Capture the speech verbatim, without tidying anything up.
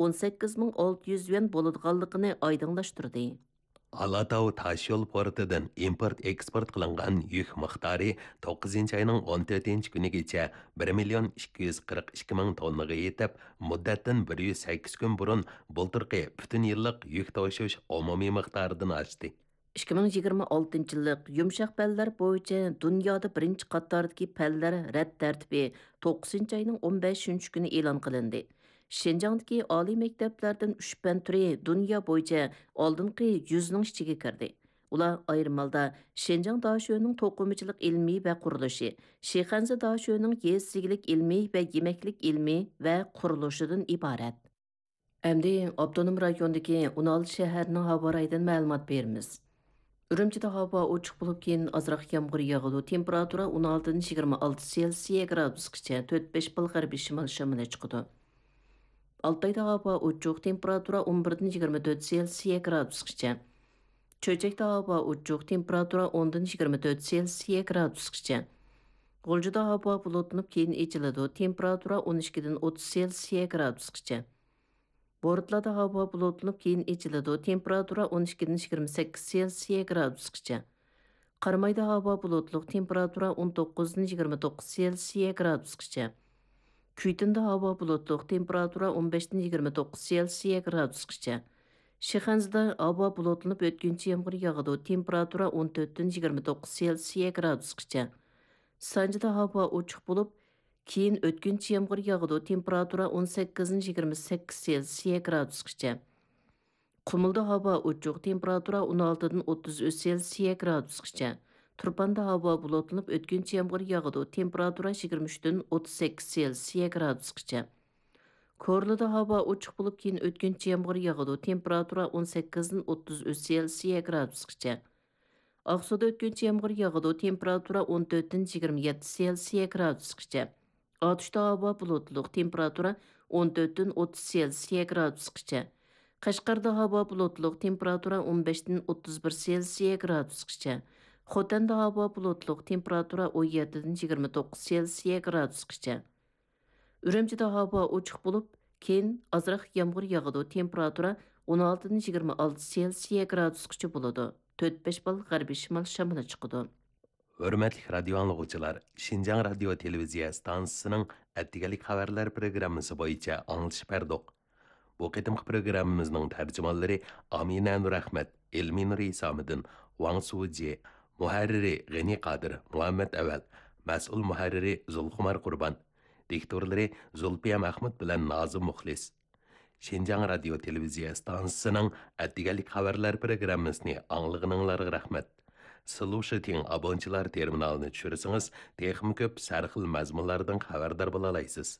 ئون سەككىز مىڭ ئالتە يۈز يۈەن بولىدىغانلىقىنى ئايدىڭلاشتۇردى. ئالاتاۋ تاشيول پورتىدىن ئىمپورت ئېكسپورت قىلىنغان يۈك مىقدارى توققۇزىنچى ئاينىڭ ئون تۆتىنچى كۈنىگىچە بىر مىليون ئىككى يۈز قىرىق ئىككى مىڭ توننىغا يېتىپ، مۇددەتتىن بىر يۈز سەككىز كۈن بۇرۇن بۇلتۇرقى پۈتۈن يىللىق يۈك توشۇش ئومۇمىي مىقدارىدىن ئاشتى. ئىككى مىڭ يىگىرمە ئالتىنچى يىللىق يۇمشاق پەنلەر بويىچە دۇنيادا بىرىنچى قاتاردىكى پەنلەر رەت تەرتىپى توققۇزىنچى ئاينىڭ ئون بەشىنچى كۈنى ئېلان قىلىندى. شىنجاڭدىكى ئالىي مەكتەپلەردىن ئۈچ پەن تۈرى دۇنيا بويىچە ئالدىنقى يۈزنىڭ ئىچىگە كىردى. ئۇلار ئايرىم ھالدا شىنجاڭ داشۆنىڭ توقۇمىچىلىق ئىلمىي ۋە قۇرۇلۇشى، شىخەنزە داشۆنىڭ يېزا ئىگىلىك ئىلمىي ۋە يېمەكلىك ئىلمىي ۋە قۇرۇلۇشىدىن ئىبارەت. ئەمدى ئاپتونوم رايوندىكى ئون ئالتە شەھەرنىڭ ھاۋا رايىدىن مەلۇمات بېرىمىز. ئۈرۈمچىدە ھاۋا ئوچۇق بولۇپ، كېيىن ئازراق يامغۇر ياغىدۇ. تېمپېراتۇرا ئون ئالتىدىن يىگىرمە ئالتە سېلسىيە گرادۇسقىچە، تۆت بەش بال غەربىي شىمال شامىلى چىقىدۇ. ئالتايدا ھاۋا ئوچۇق، تېمپېراتۇرا ئون بىردىن يىگىرمە تۆت سېلسىيە گرادۇسقىچە. چۆچەكتە ھاۋا ئوچۇق، تېمپېراتۇرا ئوندىن يىگىرمە تۆت سېلسىيە گرادۇسقىچە. غۇلجىدا ھاۋا بۇلۇتلىنىپ، كېيىن ئېچىلىدۇ، تېمپېراتۇرا ئون ئىككىدىن ئوتتۇز سېلسىيە گرادۇسقىچە. بورتالادا ھاۋا بۇلۇتلىنىپ، كېيىن ئېچىلىدۇ، تېمپېراتۇرا ئون ئىككىدىن يىگىرمە سەككىز سېلسىيە گرادۇسقىچە. قارامايدا ھاۋا بۇلۇتلۇق، تېمپېراتۇرا ئون توققۇزدىن يىگىرمە توققۇز سېلسىيە گرادۇسقىچە. كۈيتۇندا ھاۋا بۇلۇتلۇق، تېمپېراتۇرا ئون بەشتىن يىگىرمە توققۇز سېلسىيە گرادۇسقىچە. شىخەنزىدە ھاۋا بۇلۇتلىنىپ، ئۆتكۈنچى يامغۇر ياغىدۇ، تېمپېراتۇرا ئون تۆتتىن يىگىرمە توققۇز سېلسىيە گرادۇسقىچە. سانجىدا ھاۋا ئوچۇق بولۇپ، كېيىن ئۆتكۈنچى يامغۇر ياغىدۇ، تېمپېراتۇرا ئون سەككىزدىن يىگىرمە سەككىز سېلسىيە گرادۇسقىچە. قۇمۇلدا ھاۋا ئوچۇق، تېمپېراتۇرا ئون ئالتىدىن ئوتتۇز ئۈچ سېلسىيە گرادۇسقىچە. تۇرپاندا ھاۋا بۇلۇتلىنىپ، ئۆتكۈنچى يامغۇر ياغىدۇ، تېمپېراتۇرا يىگىرمە ئۈچتىن ئوتتۇز سەككىز سېلسىيە گرادۇسقىچە. كورلىدا ھاۋا ئوچۇق بولۇپ، كېيىن ئۆتكۈنچى يامغۇر ياغىدۇ، تېمپېراتۇرا ئون سەككىزدىن ئوتتۇز ئۈچ سېلسىيە گرادۇسقىچە. ئاقسۇدا ئۆتكۈنچى يامغۇر ياغىدۇ، تېمپېراتۇرا ئون تۆتتىن يىگىرمە يەتتە سېلسىيە گرادۇسقىچە. ئاتۇشتا ھاۋا بۇلۇتلۇق، تېمپېراتۇرا ئون تۆتتىن ئوتتۇز سېلسىيە گرادۇسقىچە. قەشقەردە ھاۋا بۇلۇتلۇق، تېمپېراتۇرا ئون بەشتىن ئوتتۇز بىر سېلسىيە گرادۇسقىچە. خوتەندە ھاۋا بۇلۇتلۇق، تېمپېراتۇرا ئون يەتتىدىن يىگىرمە توققۇز سېلسىيە گرادۇسقىچە. ئۈرۈمچىدە ھاۋا ئوچۇق بولۇپ، كېيىن ئازراق يامغۇر ياغىدۇ، تېمپېراتۇرا ئون ئالتىدىن يىگىرمە ئالتە سېلسىيە گرادۇسقىچە بولىدۇ. تۆت بەش بال غەربىي شىمال شامىلى چىقىدۇ. ھۆرمەتلىك رادىئو ئاڭلىغۇچىلار، شىنجاڭ رادىيو تېلېۋىزىيە ئىستانسىسىنىڭ ئەتىگەنلىك خەۋەرلەر پروگراممىسى بويىچە ئاڭلىتىش بەردۇق. بۇ قېتىمقى پروگراممىمىزنىڭ تەرجىمانلىرى ئامىنە نۇرئەخمەت، ئېلمىنۇر ئىسامىدىن، ۋاڭ سۇجى، مۇھەررىرى غېنى قادىر، مۇھەممەت ئەۋەل، مەسئۇل مۇھەررىرى زۇلخۇمار قۇربان، دىكتورلىرى زۇلپىيە مەخمۇت بىلەن نازىم مۇخلىس. شىنجاڭ رادىيو تېلېۋىزىيە ئىستانسىسىنىڭ ئەتىگەنلىك خەۋەرلەر پروگراممىسىنى ئاڭلىغىنىڭلارغا رەھمەت. سىلۇشىتىڭ ئابونچىلار تېرمىنالىنى چۈشۈرسىڭىز، تېخىمۇ كۆپ سەرخىل مەزمۇنلاردىن خەۋەردار بولالايسىز.